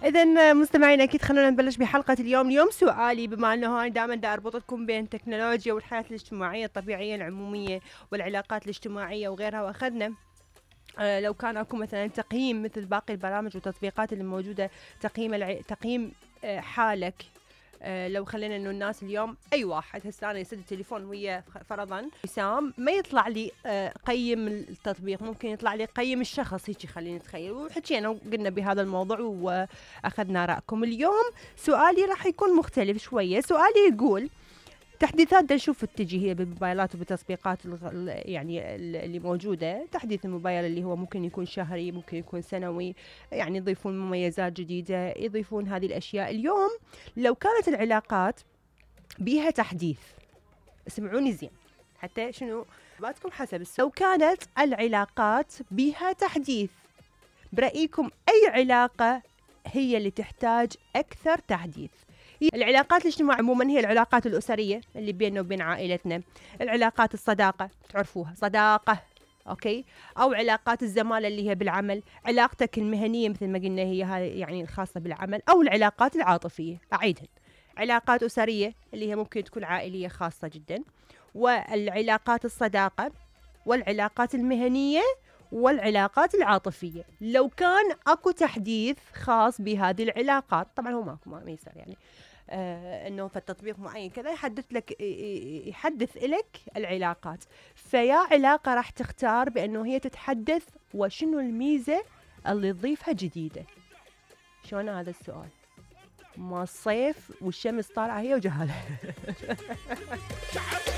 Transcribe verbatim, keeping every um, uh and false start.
إذن مستمعين أكيد خلونا نبلش بحلقة اليوم. اليوم سؤالي، بما أنه أنا دائما دا أربطكم بين التكنولوجيا والحياة الاجتماعية الطبيعية العمومية والعلاقات الاجتماعية وغيرها، وأخذنا آه لو كان أكو مثلا تقييم مثل باقي البرامج والتطبيقات اللي موجودة، تقييم الع... تقييم آه حالك. آه لو خلينا انه الناس اليوم اي واحد هسه انا يسد التليفون ويا فرضا وسام، ما يطلع لي آه قيم التطبيق، ممكن يطلع لي قيم الشخص، هيك خلينا نتخيل. وحكينا وقلنا بهذا الموضوع واخذنا رايكم. اليوم سؤالي راح يكون مختلف شويه. سؤالي يقول تحديثات دا نشوف تجي هي بالموبايلات وبالتطبيقات يعني اللي موجودة، تحديث الموبايل اللي هو ممكن يكون شهري، ممكن يكون سنوي، يعني يضيفون مميزات جديدة، يضيفون هذه الأشياء. اليوم لو كانت العلاقات بيها تحديث، اسمعوني زين حتى شنو باتكم حسب السؤال. لو كانت العلاقات بيها تحديث، برأيكم أي علاقة هي اللي تحتاج أكثر تحديث؟ العلاقات الاجتماعية عموما هي العلاقات الأسرية اللي بيننا وبين عائلتنا، العلاقات الصداقة تعرفوها صداقة أوكي، أو علاقات الزمالة اللي هي بالعمل، علاقتك المهنية مثل ما قلنا هي هاي يعني الخاصة بالعمل، أو العلاقات العاطفية. أعيدها، علاقات أسرية اللي هي ممكن تكون عائلية خاصة جدا، والعلاقات الصداقة، والعلاقات المهنية، والعلاقات العاطفية. لو كان اكو تحديث خاص بهذه العلاقات، طبعا هو ماكو ما يصير يعني آه انه في التطبيق معين كذا يحدث لك يحدث لك العلاقات، فيا علاقة راح تختار بانه هي تتحدث، وشنو الميزة اللي تضيفها جديدة؟ شلون هذا السؤال؟ ما الصيف والشمس طالعة هي وجهالها